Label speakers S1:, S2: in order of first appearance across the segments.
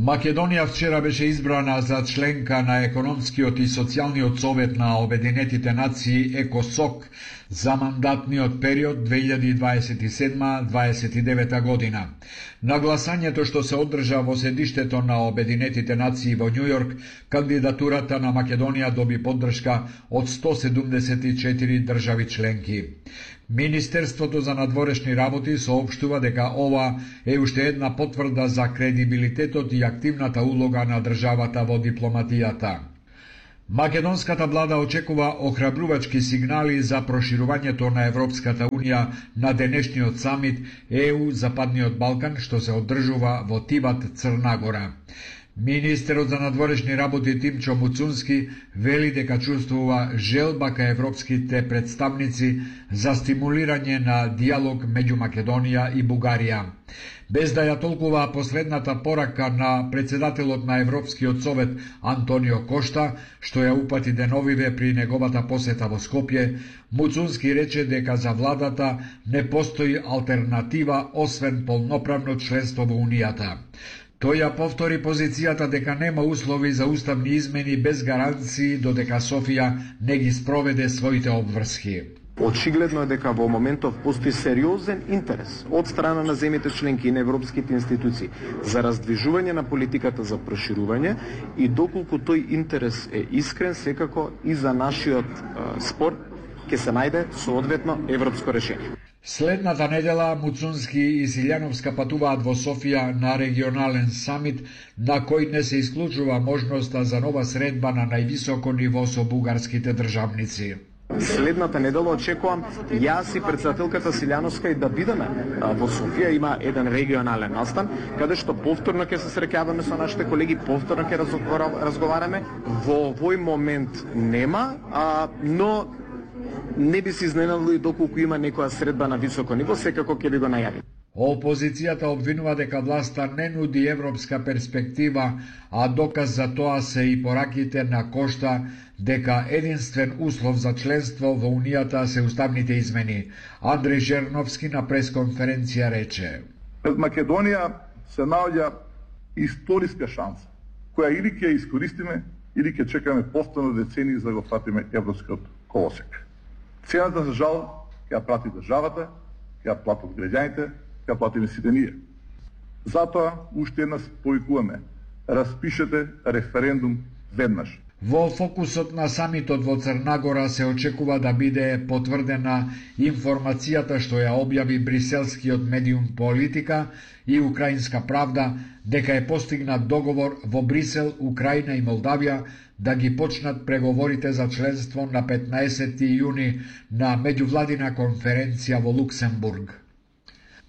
S1: Македонија вчера беше избрана за членка на Економскиот и социјалниот совет на Обединетите нации ЕКОСОК за мандатниот период 2027-29 година. На гласањето што се одржа во седиштето на Обединетите нации во Њујорк, кандидатурата на Македонија доби поддршка од 174 држави членки. Министерството за надворешни работи соопштува дека ова е уште една потврда за кредибилитетот и активната улога на државата во дипломатијата. Македонската влада очекува охрабрувачки сигнали за проширувањето на Европската унија на денешниот самит ЕУ Западниот Балкан што се одржува во Тиват, Црна Гора. Министерот за надворешни работи Тимчо Муцунски вели дека чувствува желба кај европските представници за стимулирање на диалог меѓу Македонија и Бугарија. Без да ја толкува последната порака на председателот на Европскиот совет Антонио Кошта, што ја упати деновиве при неговата посета во Скопје, Муцунски рече дека за владата не постои алтернатива освен полноправно членство во Унијата. Тој ја повтори позицијата дека нема услови за уставни измени без гаранции додека Софија не ги спроведе своите обврски.
S2: Очигледно е дека во моментов постои сериозен интерес од страна на земјите членки и на европските институции за раздвижување на политиката за проширување и доколку тој интерес е искрен, секако и за нашиот спор ќе се најде соодветно европско решение.
S1: Следната недела Муцунски и Силјановска патуваат во Софија на регионален самит на кој не се исклучува можноста за нова средба на највисоко ниво со бугарските државници.
S2: Следната недела очекувам јас и председателката Силјановска и да бидеме во Софија. Има еден регионален настан каде што повторно ќе се среќаваме со нашите колеги, повторно ќе разговараме. Во овој момент нема, но не би се изненадили доколку има некоја средба на високо ниво, секако ќе ви го најави.
S1: Опозицијата обвинува дека власта не нуди европска перспектива, а доказ за тоа се и пораките на Кошта дека единствен услов за членство во Унијата се уставните измени. Андреј Жерновски на пресконференција рече:
S3: Пред Македонија се наоѓа историска шанса, која или ќе ја искористиме, или ќе чекаме повторно децении за да го фатиме европскиот колосек. Цената за жал ќе ја прати државата, ќе ја платат граѓаните, ќе ја платиме сите ние. Затоа уште еднаш повикуваме: распишете референдум веднаш.
S1: Во фокусот на самитот во Црна Гора се очекува да биде потврдена информацијата што ја објави бриселскиот медиум Политика и Украинска правда дека е постигнат договор во Брисел, Украина и Молдавија да ги почнат преговорите за членство на 15 јуни на меѓувладина конференција во Луксембург.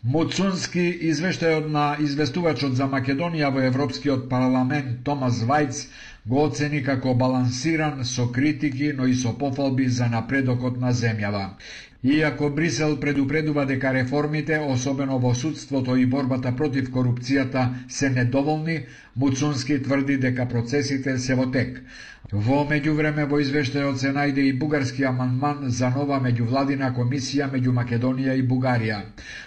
S1: Муцунски извештајот на известувачот за Македонија во Европскиот парламент Томас Вајц го оцени како балансиран со критики, но и со пофалби за напредокот на земјава. Иако Брисел предупредува дека реформите, особено во судството и борбата против корупцијата, се недоволни, Муцунски тврди дека процесите се во тек. Во меѓувреме во извештајот се најде и бугарски амандман за нова меѓувладина комисија меѓу Македонија и Бугарија.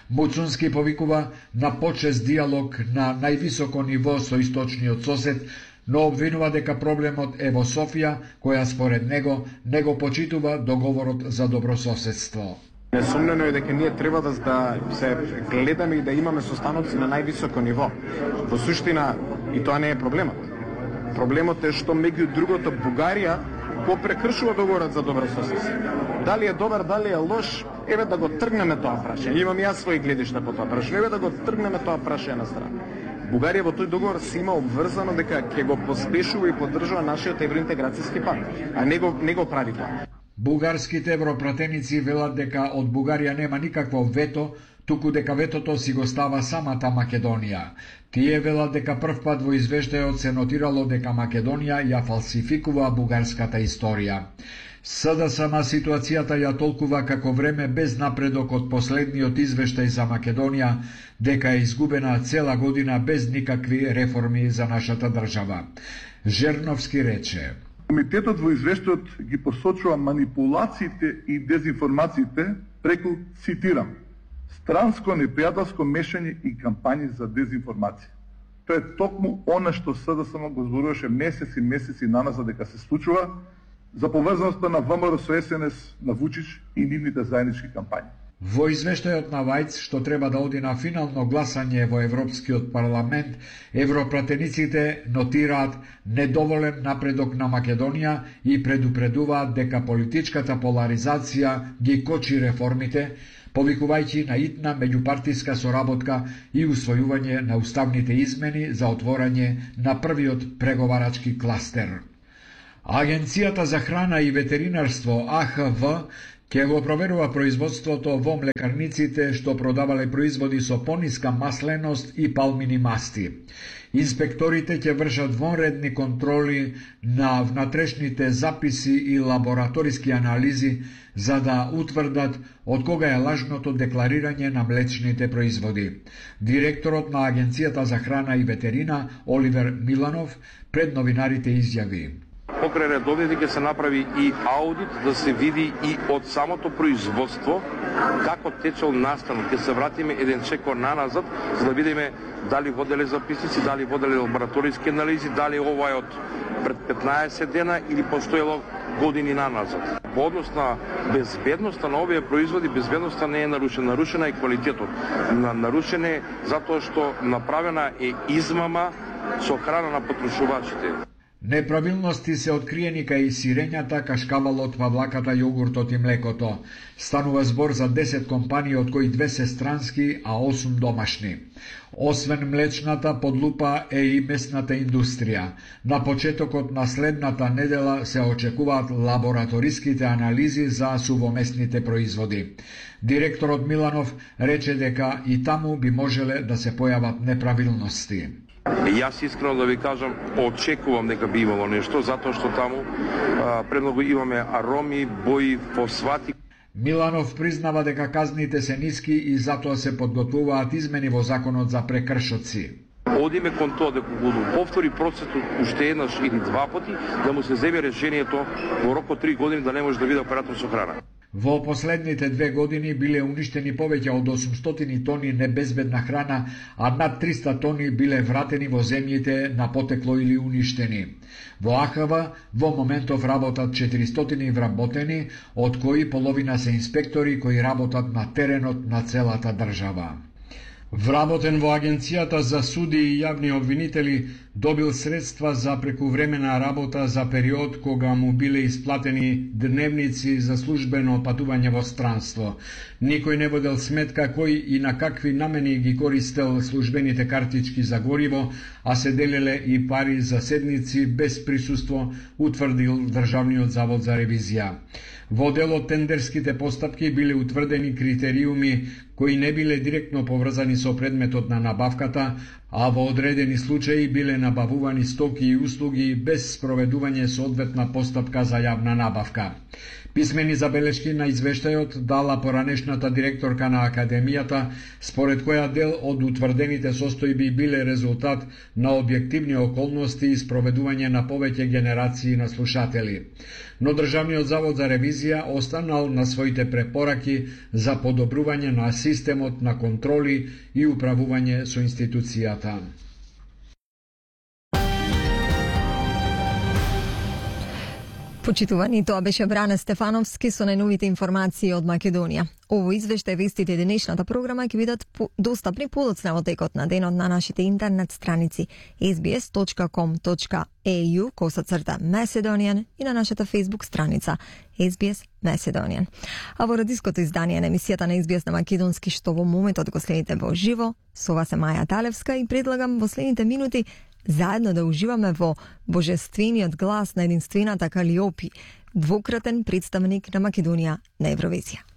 S1: Муцунски повикува на почест диалог на највисоко ниво со источниот сосед, но обвинува дека проблемот е во Софија, која според него не го почитува договорот за добрососедство.
S2: Несомнено е дека ние треба да се гледаме и да имаме состаноци на највисоко ниво. Во суштина, и тоа не е проблемот. Проблемот е што меѓу другото Бугарија го прекршува договорот за добрососедство. Дали е добар, дали е лош, еве да го тргнеме тоа прашање. Имам јас своји гледишта по тоа прашање, еве да го тргнеме тоа прашање на страна. Бугарија во тој договор се има обврзано дека ќе го поспешува и поддржува нашиот евроинтеграцијски пат, а не го прави тоа.
S1: Бугарските европратеници велат дека од Бугарија нема никакво вето, туку дека ветото си го става самата Македонија. Тие велат дека првпат во извештајот се нотирало дека Македонија ја фалсификува бугарската историја. СДСМ ситуацијата ја толкува како време без напредок од последниот извештај за Македонија, дека е изгубена цела година без никакви реформи за нашата држава. Жерновски рече:
S3: Комитетот во извештајот ги посочува манипулациите и дезинформациите преку, цитирам, странско непријателско мешање и кампањи за дезинформација. Тоа е токму она што СДСМ го зборуваше месеци наназад дека се случува за поврзаноста на ВМРО со СНС, на Вучич и нивните заеднички кампањи.
S1: Во извештајот на Вајц, што треба да оди на финално гласање во Европскиот парламент, европратениците нотираат недоволен напредок на Македонија и предупредуваат дека политичката поларизација ги кочи реформите, повикувајќи на итна меѓупартиска соработка и усвојување на уставните измени за отворање на првиот преговарачки кластер. Агенцијата за храна и ветеринарство АХВ ќе го проверува производството во млекарниците што продавале производи со пониска масленост и палмини масти. Инспекторите ќе вршат вонредни контроли на внатрешните записи и лабораториски анализи за да утврдат од кога е лажното декларирање на млечните производи. Директорот на Агенцијата за храна и ветерина Оливер Миланов пред новинарите изјави:
S4: Покрај редовните ќе се направи и аудит да се види и од самото производство како течел настанот. Ќе се вратиме еден чекор наназад за да видиме дали воделе записници, дали воделе лабораториски анализи, дали ова е од пред 15 дена или постоело години наназад. Во однос на безбедноста на овие производи, безбедноста не е нарушена, нарушена е квалитетот. Нарушена е затоа што направена е измама со храна на потрошувачите.
S1: Неправилности се откриени кај сирењата, кашкавалот, павлаката, јогуртот и млекото. Станува збор за 10 компании, од кои 2 се странски, а 8 домашни. Освен млечната, под лупа е и месната индустрија. На почетокот на следната недела се очекуваат лабораториските анализи за сувомесните производи. Директорот Миланов рече дека и таму би можеле да се појават неправилности.
S4: Јас искрено да ви кажам, очекувам дека би имало нешто, затоа што таму премногу имаме ароми, бои, фосфати.
S1: Миланов признава дека казните се ниски и затоа се подготвуваат измени во законот за прекршоци.
S4: Одиме кон тоа дека го повтори процесот уште еднаш или два пати, да му се земе решението во рок од 3 години да не може да биде оператор со храна.
S1: Во последните 2 години биле уништени повеќе од 800 тони небезбедна храна, а над 300 тони биле вратени во земјите на потекло или уништени. Во АХВ во моментов работат 400 вработени, од кои половина се инспектори кои работат на теренот на целата држава. Вработен во Агенцијата за суди и јавни обвинители добил средства за прекувремена работа за период кога му биле исплатени дневници за службено патување во странство. Никој не водел сметка кој и на какви намени ги користел службените картички за гориво, а се делеле и пари за седници без присуство, утврдил Државниот завод за ревизија. Во дел од тендерските постапки биле утврдени критериуми кои не биле директно поврзани со предметот на набавката, а во одредени случаи биле набавувани стоки и услуги без спроведување соодветна постапка за јавна набавка. Писмени забелешки на извештајот дала поранешната директорка на Академијата, според која дел од утврдените состојби биле резултат на објективни околности и спроведување на повеќе генерации на слушатели. Но Државниот завод за ревизија останал на своите препораки за подобрување на системот на контроли и управување со институцијата.
S5: Почитувани, тоа беше Бране Стефановски со најновите информации од Македонија. Ово извештај, вестите денешната програма ќе бидат достапни подоцна во текот на денот на нашите интернет страници sbs.com.au/Macedonian и на нашата Facebook страница SBS Macedonian. А во радиското издание на емисијата на SBS на македонски, што во моментот го следите во живо, со вас е Маја Талевска и предлагам во следните минути заедно да уживаме во божествениот глас на единствената Калиопи, двократен представник на Македонија на Евровизија.